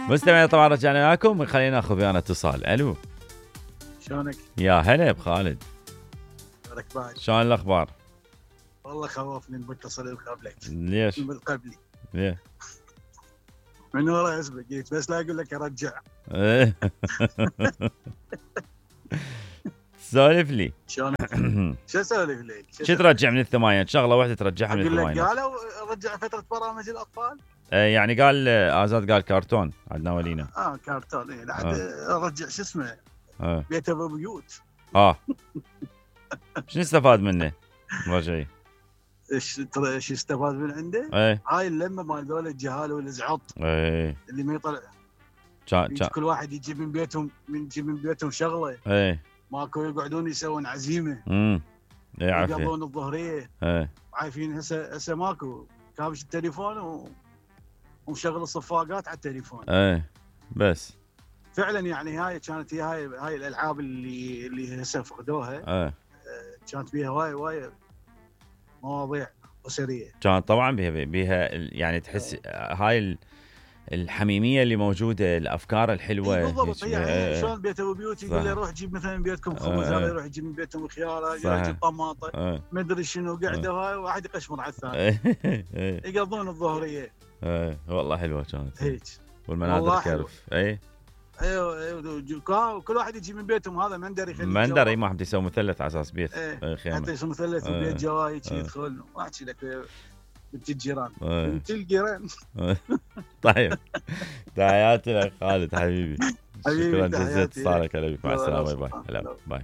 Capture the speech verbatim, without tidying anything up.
مستمعين طبعا رجعنا لكم، خلينا ناخذ ويانا اتصال. الو شلونك؟ يا هلا بخالد، ركبان شلون الاخبار؟ والله خوفني المتصل اللي قبلك. ليش؟ من قبلي ليه؟ من ورا اسمك جيت بس لا اقول لك ارجع. سولف لي. شلون؟ شو اسولف لك؟ شو ترجع من الثمانينات؟ شغله واحده ترجعها من الثمانينات. الثمانينات. قالوا رجع فتره برامج الاطفال. يعني قال ازاد قال كرتون عندنا ولينا. اه كرتون اي لحد ارجع شو اسمه آه. بيت ابو بيوت. اه شنو استفاد منه رجعي؟ ايش ترى ايش استفاد من عنده؟ ايه هاي اللمه مال ذول الجهال والزعط. ايه اللي ما يطلع كان كان كل واحد يجيب من بيتهم من يجيب من بيتهم شغله. ايه ماكو يقعدون يسوون عزيمه. امم ايه عافيه. يقضون الظهريه. ايه عارفين هسه هسه ماكو كابش التليفون و... ومشغل الصفاقات على التليفون. ايه بس فعلا يعني هاي كانت هي هاي هاي الالعاب اللي اللي هسه فقدوها. ايه كانت فيها وايد وايد مواضيع اسريه. كانت طبعا بيها بيها يعني تحس هاي الحميميه اللي موجوده، الافكار الحلوه. إيه بالضبط. هيك. يعني شلون بيت ابو بيوت يقول له روح جيب مثلا بيتكم خبز، هذا يروح يجيب من بيتهم خياره، يجيب طماطه، ما ادري شنو قاعده هاي واحد يقشمر على الثاني. يقضون الظهريه. ايه والله حلوه كانت هيك. والمناظر كرف. اي ايوه ايوه وكل واحد يجي من بيتهم، هذا مندر يخلي مندر. اي ما حد يسوي مثلث على اساس بيت. ايه خيمه حتى يسوي مثلث وبيت جواي يدخل واحكي لك بنت الجيران بنت الجيران. طيب تحياتي لك خالد حبيبي. حبيبي شكرا جزيلا اتصالك. مع السلامه. باي باي.